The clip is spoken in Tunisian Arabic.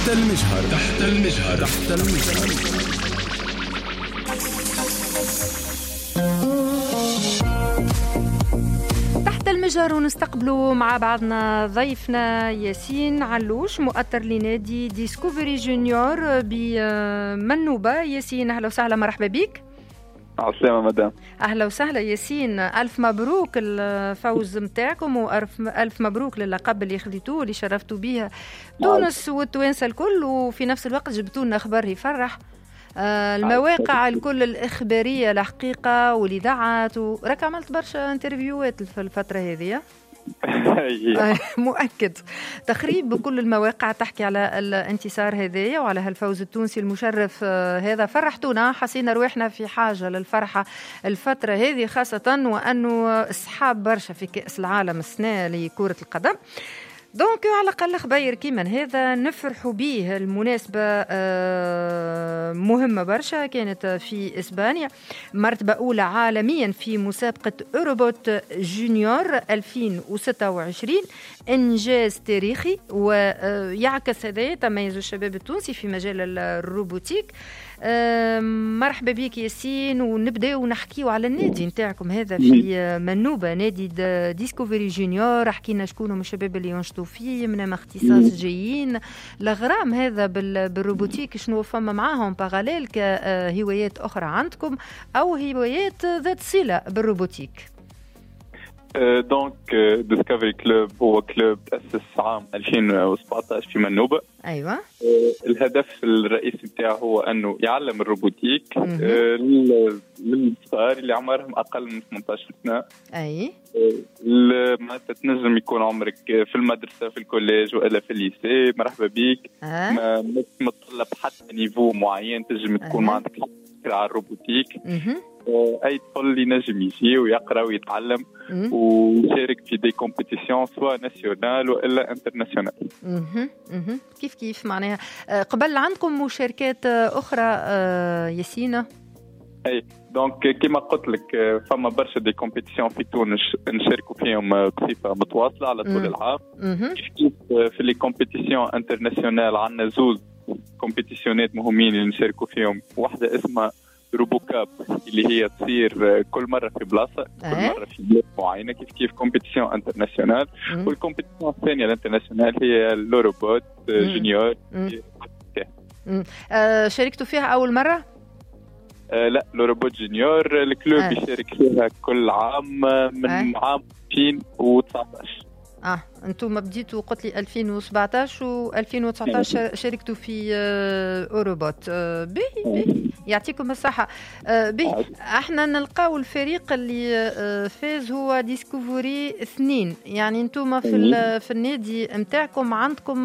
تحت المجهر، تحت المجهر، تحت المجهر. تحت المجهر ونستقبلوا مع بعضنا ضيفنا ياسين علوش، مؤطر لنادي ديسكوفري جونيور بمنوبة. ياسين أهلا وسهلا، مرحبا بك. عسلامة مدام. أهلا وسهلا ياسين، ألف مبروك الفوز متاعكم وألف ألف مبروك للقب اللي خذيتوه اللي شرفتوا به تونس والتوانسة الكل، وفي نفس الوقت جبتوا لنا خبر يفرح. المواقع الكل الإخبارية الحقيقة والإذاعات، وراك عملت برشا interview ات في الفترة هذه. مؤكد تخريب بكل المواقع تحكي على الانتصار هذايا وعلى هالفوز التونسي المشرف هذا. فرحتونا، حسينا رواحنا في حاجة للفرحة الفترة هذه، خاصة وأنه السحاب برشا في كأس العالم السنة لكرة القدم. donc على الأقل خبير كيما هذا نفرحوا به. المناسبة مهمة برشا، كانت في إسبانيا، مرتبة أولى عالميا في مسابقة أوروبوت جونيور 2026، إنجاز تاريخي ويعكس هذا تميز الشباب التونسي في مجال ال robotique. مرحبا بك ياسين، ونبداو نحكيو على النادي نتاعكم هذا في منوبة، نادي ديسكوفري جونيور. حكينا شكون هم الشباب اللي ينشطوا فيه، من اختصاص جايين، الغرام هذا بال robotique شنو فما معاهم parallèle كهوايات أخرى عندكم أو هوايات ذات صلة بال robotique؟ donc ديسكفري club هو club تأسس عام 2017 في منوبة. أيوة. الهدف الرئيسي بتاعه هو أنه يعلم ال robotique للصغار اللي عمرهم أقل من 18 سنة. أي. معناتها تنجم يكون عمرك في المدرسة، في ال collège وإلا في ال lycée، مرحبا بيك. ما متطلب حتى niveau معين، تنجم تكون ما عندك فكرة على ال robotique. اي طفل ينجم يجي ويقرا ويتعلم ويشارك في des compétitions soit nationales والا internationales. كيف كيف معناها قبل عندكم مشاركات اخرى ياسين؟ اي donc كيما قلت لك فما برشا des compétitions في تونس نشاركوا فيهم بصفة متواصلة على طول العام. كيف كيف في les compétitions internationales عندنا زوز compétition ات مهمين اللي نشاركوا فيهم، واحدة اسمها RoboCup اللي هي تصير كل مرة في بلاصة، كل مرة في بلاد معينة، كيف كيف compétition internationale. وال compétition الثانية ال internationale هي l'Eurobot Junior. شاركتوا فيها أول مرة؟ لا، l'Eurobot Junior ال club يشارك فيها كل عام من عام 2019. انتم بديتوا قلت لي 2017 و2019 شاركتوا في اوروبوت. باهي يعطيكم الصحة. باهي احنا نلقاو الفريق اللي فاز هو ديسكوفري 2، يعني انتم في النادي نتاعكم عندكم